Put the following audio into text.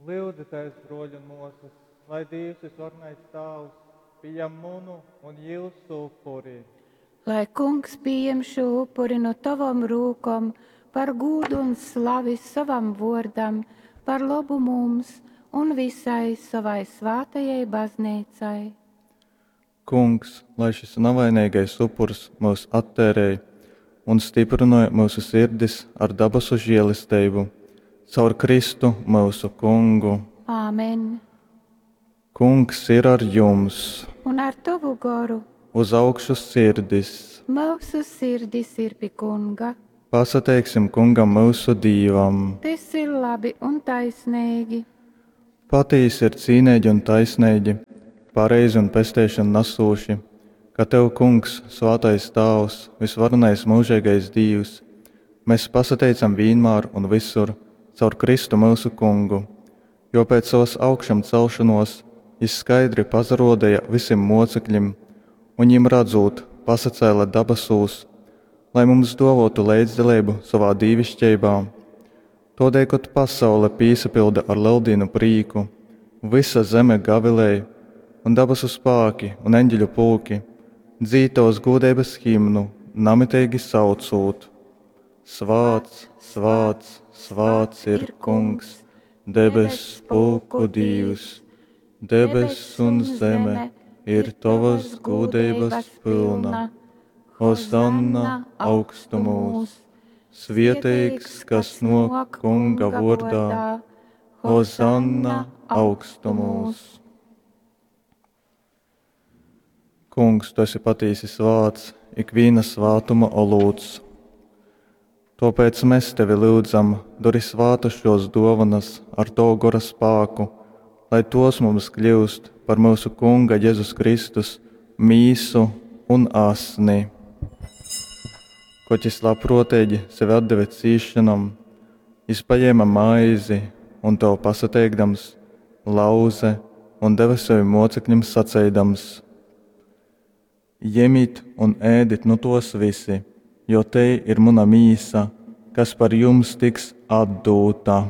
Lyudzitēs, bruoļi un muosys, lai Dīvs Vysvarenais Tāvs pījam munu un jiusu upuri. Lai Kungs pījem šū upuri nu tovom rūkom par gūdu un slavi sovam vōrdam, par lobu mums un visai sovai svātajai Bazneicai. Kungs, lai šys navaineigais upurs myus atteirej un styprynoj myusu sirdis ar dabasu želesteibu. Caur Kristu, myusu Kungu. Amen. Kungs ir ar jums! Un ar tovu goru. Uz augšu sirdis! Myusu sirdis ir pi Kunga. Pasateiksim Kungam myusu Dīvam! Tys ir labi un taisneigi. Patīsi ir cīneigi un taisneigi, pareizi un pesteišonu nasūši, ka tev, Kungs, svātais Tāvs, vysvarenais myužeigais Dīvs, mes pasateicam vīnmār un vysur caur Kristu myusu Kungu, jo pēc sovas augšamceļšonōs jys skaidri pasarōdeja vysim mōceklim un, jim radzūt, pasacēle dabasūs, lai mums dōvōtu leidzdaleibu sovā dīviškeibā. Tōdēļ, kod pasaule pīsapylda ar Leldīnu prīku, vysa zeme gavilej, un dabasu spāki un eņģeļu pulki dzīd tovas gūdeibas himnu, namiteigi saucūt: Svāts, svāts, svāts ir Kungs, debess pulku Dīvs, debess un zeme ir tovas gūdeibas pylna. Hozanna augstumūs! Svieteigs, kas nōk Kunga vōrdā, Hozanna augstumūs! Kungs, tu esi patīsi svāts, ikvīna svātuma olūts. Tōpēc mes tevi lyudzam, dori svātas šōs dōvanas ar tovu gora spāku, lai tos mums kļyust par myusu Kunga Jezus Kristus mīsu un asni. Kod jys labprōteigi sevi atdeve cīsšonom, jys pajēma maizi un tev pasateikdams, lauze un deve sevim mōcekļim saceidams: Jemit un ēdit nu tōs visi, jo tei ir muna mīsa, kas par jums tiks atdūta.